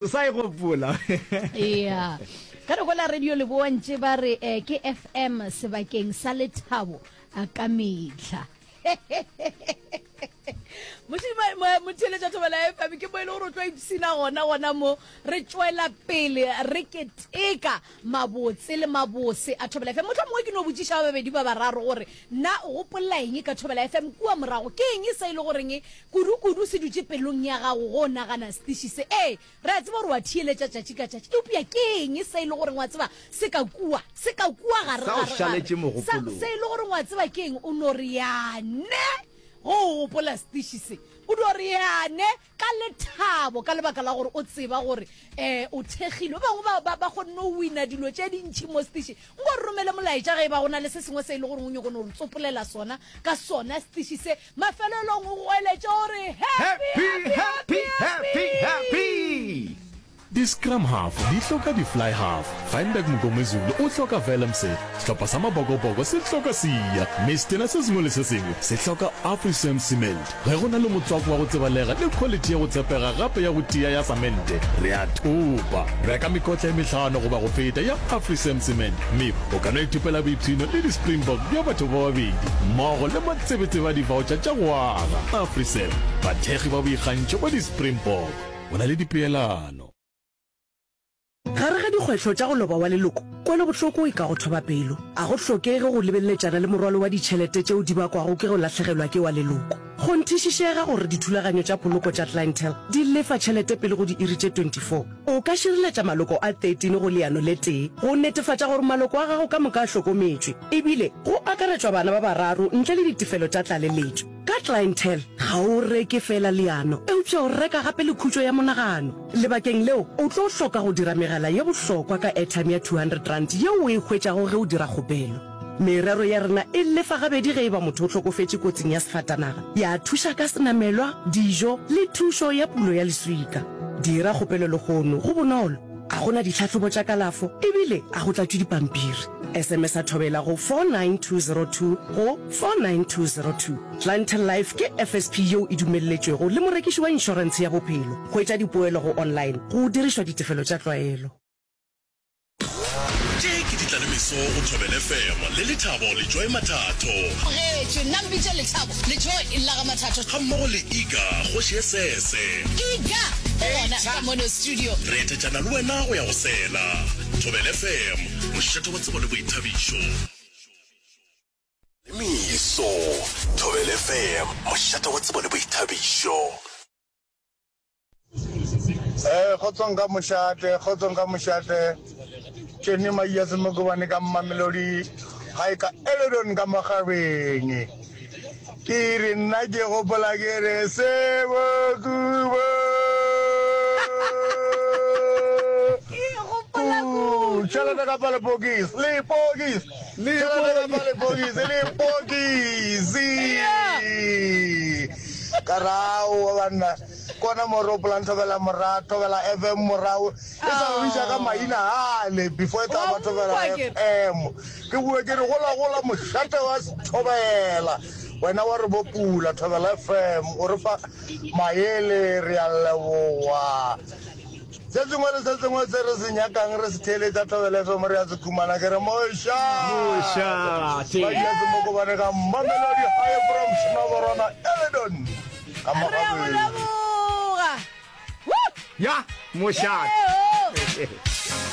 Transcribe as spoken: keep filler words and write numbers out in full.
Sa e gopola. Ea. Ka re gola Radio Leboa ntše ba re eh, ke F M sebakeng sa lethabo a ka mehla. Motheeletša Thobela F M, ke mo e le gore o tlo ipshina gona gona mo re tšwela pele re keteka mabotse le mabose a Thobela F M. Mohlomongwe ke no botšiša ba babedi ba bararo gore na o gopolela eng ka Thobela F M kua morago, ke eng se e le goreng kudu-kudu se dutše pelong ya gago go nagana setiši se? Ee, re a tseba gore wa theeletša tšatši ka tšatši, eupša ke eng se e le goreng wa tseba se ka kua, se ka kua gare Sa o gare gare šaletše sa mogopolong. Se e le goreng wa tseba ke eng, o no re yane go o gopola setiši se, o dio re yane ka lethabo ka lebaka la gore o tseba gore um o thekgilwe. Ba bangwe ba, ba, ba kgonne go wina dilo tše dintšhi mo setiši. Nko re romele molaetša ge e ba go na le se sengwe se e le goreng o nyako no re tsopolela sona ka sona setiši se. Mafelelong o goeletše gore happy, Happy, happy, happy, happy, happy! Di-scrum half di hloka di-fly half, Feinberg Mngomezulu o hloka Willemse, sehlopha sa Mabokoboko se hloka Siya, mme setena se sengwe le se sengwe se hloka Afrisem Cement. Ge go na le motswako wa go tsebalega le quality ya go tshepega gape ya go tia ya samente, re a thopa. Reka mekotla e mehlano goba go feta ya Afrisem Cement mme o ka no ithopela boipshino le di-Springbok bja batho ba babedi mmogo le matsebetsebe a di-voucher tša go aga. Afrisem, bathekgi ba boikgantšho ba di-Springbok. Go na le dipeelano. Gare ga dikgwetlho tša go loba wa leloko, kwelobohloko e ka go thoba pelo. A go hlokege go lebeleletšana le morwalo wa ditšhelete tšeo di bakwago ke go lahlegelwa ke wa leloko. Kgonthišišega gore dithulaganyo tša poloko tša Clientele di lefa tšhelete pele go diiri tše twenty-four. O ka šireletša maloko a thirteen go leano le tee go netefatša gore maloko a gago ka moka a hlokometšwe, ebile go akaretšwa bana ba bararo ntle le ditefelo tša tlaleletšo. Ka Clientele, ga o reke feela leano, eupša o reka gape le khutšo ya monagano. Lebakeng leo, o tlo hloka go dira megala ye bohlokwa ka airtime ya two hundred rand yeo o e hwetšago ge o dira kgopelo. Merero ya rena e lefa gabedi ge e ba motho o hlokofetše kotsing ya sefatanaga, ya thuša ka senamelwa, dijo le thušo ya pulo ya leswika. Dira kgopelo lehono, go bonolo, ga go na ditlhahlobo tša kalafo ebile ga go tlatšwe dipampiri. S M S a Thobela go four nine two zero two go four nine two zero two. Clientele Life ke F S P yeo e dumelletšwego le morekiši wa inšorentshe ya bophelo. Hwetša dipoelo go online go dirišwa ditefelo tša tlwaelo. Tše ke ditlalemeso go Thobela F M le Lethabo le Joy Mathatho. Getšwe, nna mpitše Lethabo le Joy la ga Mathatho. Ga mmogo le Iga, kgoši ya sese. Iga o gona ka mono studio. Re etetšana le wena go ya go sela. Thobela F M, mošate wa tsebo le boithabišo. Le meso, Thobela F M, mošate wa tsebo le boithabišo. Eh, kgotsong ka mošate, kgotsong ka mošate. Tšene Maia Semokobane ka Mamelodi, gae ka Eledon ka Makgabeng. Ke re nna ke gopola ke re Sebokubo. Ku, tšhelete ka pa lepokisi, lepokisi. Tšhelete ka pa lepokisi, lepokisi. Ka re aowa banna, kona mo re gopolang Thobela mora, Thobela F M morago, e sa ba bitša ka maina ale before e tla ba Thobela F M. Ke boe ke re gola gola mošate wa Thobela, wena wa re bopula Thobela F M, o re fa maele, re a leboga. Se sengwe le se sengwe se re se nyakang re se theeletša Thobela F M re a se khumana. Ke re mošate. Madia Semokobane ka Mamelodi High from Snoborona Eledon ka Re a go Magabeng. leboga. Woo! Ya, mošate. Yeo.